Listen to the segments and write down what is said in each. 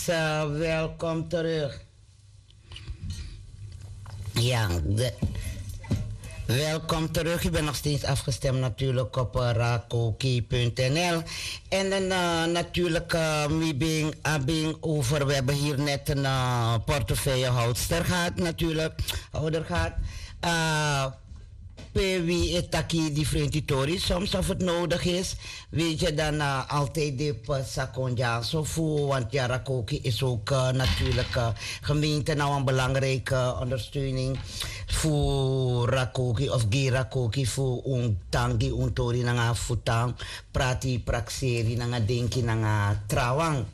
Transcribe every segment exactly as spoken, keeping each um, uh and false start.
Eh, welkom terug. Ja, de, welkom terug. U bent nog steeds afgestemd natuurlijk op eh, rakoki punt n l. En dan eh, natuurlijk, eh, mi ben, a ben over, we hebben hier net een eh, portefeuillehoudster gehad natuurlijk. Houder gehad. Eh, Pe wi e taki difrenti tori, soms of het nodig is, weet je, dan eh, altijd de psa kon dyaso fu, want ja, rakoki is ook eh, natuurlijk eh, gemeente na wan belangrijke ondersteuning fu rakoki of gi rakoki fu un tan gi un tori nanga fu tan prati prakseri nanga denki nanga trawan.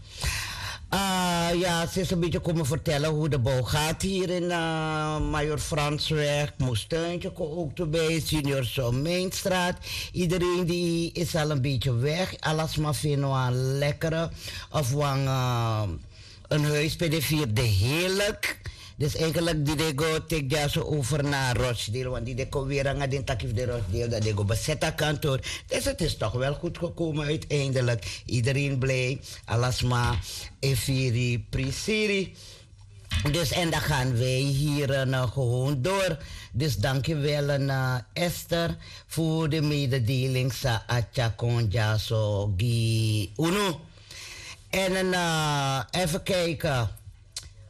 Ah, ja, ze is een beetje komen vertellen hoe de bouw gaat hier in eh, Major Fransweg. Moestuintje kon ook erbij, Senior Someinstraat. Iedereen die is al een beetje weg. Alasma vindt wel een lekkere of wel eh, een huis bij de vierde heerlijk. Dus eigenlijk die de go take dyaso over na Rochdale. Want die de kon weer aan den taki fu de Rochdale, dat de go bezet a kantoor. Dus het is toch wel goed gekomen uiteindelijk. Iedereen blij. Alasma, efiri, prisiri. Dus en dan gaan wij hier eh, gewoon door. Dus dankjewel eh, Esther voor de mededeling sa a tyari kon dyaso gi unu. En eh, even kijken.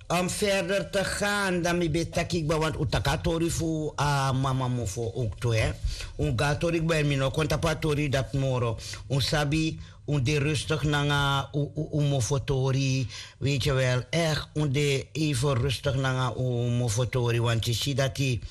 Om verder te gaan, dan mi ben taki kba, want un taki a tori fu a mama mofo ook tu, hè. Un go a tori kba, en mi no kon tapu a tori dati moro. Un sabi, un de rustig nanga un, un, un mofo tori, weet je wel, echt, un de even rustig nanga un mofo tori, want yu si dati,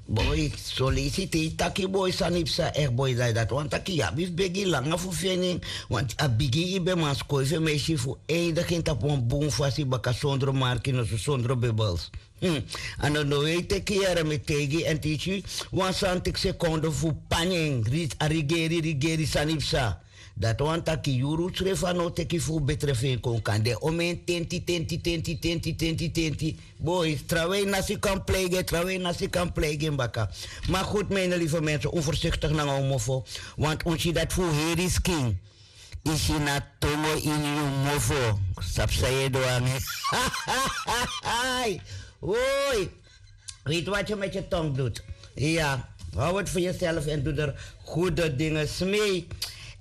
boi, son leisi te yu taki boi sani psa, echt boi, dati, dati wani taki yu abi fu begi langa fu feni en, want a bigin yu ben man skoi fu en, ma yu si fu eindigin tapu wan bun fasi baka, sondro marki noso, sondro bebels. Hmm. A no no e teki yere mi e taigi yu, èn te yu si wan santi sekonde fu panya en, a rigeri, rigeri sani psa. Dati wani taki yuru srefi a no teki fu betre fu en kon, kan de omen tenti, tenti, tenti, tenti, tenti, tenti. Boi, trawan nasi kan pleigi en, trawan nasi kan pleigi en baka. Maar goed, mijn lieve mensen, un voorzichtig nanga un mofo. Want un si dati fu heri skin. Yu si na tongo ini yu mofo. Sabi san yu e du nanga en. Ai. Oi. Weet wat je met je tong doet. Ja, hou het voor jezelf en doe er goede dingen mee.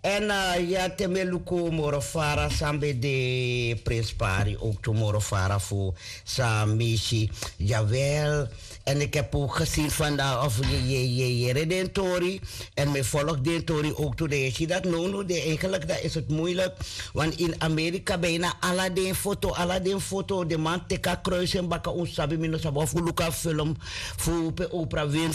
En eh, ja, te mi e luku moro fara san ben de prenspari, ook tu moro fara fu san mi si. Jawel. En ik heb ook gezien vandaag of je, je, je, je redt den tori. En mi e volg den tori ook tu. Dan yu si dati now, now de, eigenlijk dan is het moeilijk. Want in Amerika bijna ala den foto, ala den foto, de man teki a kruis en baka, un sabi, mi no sabi of un luku a film fu pe Oprah Winfrey.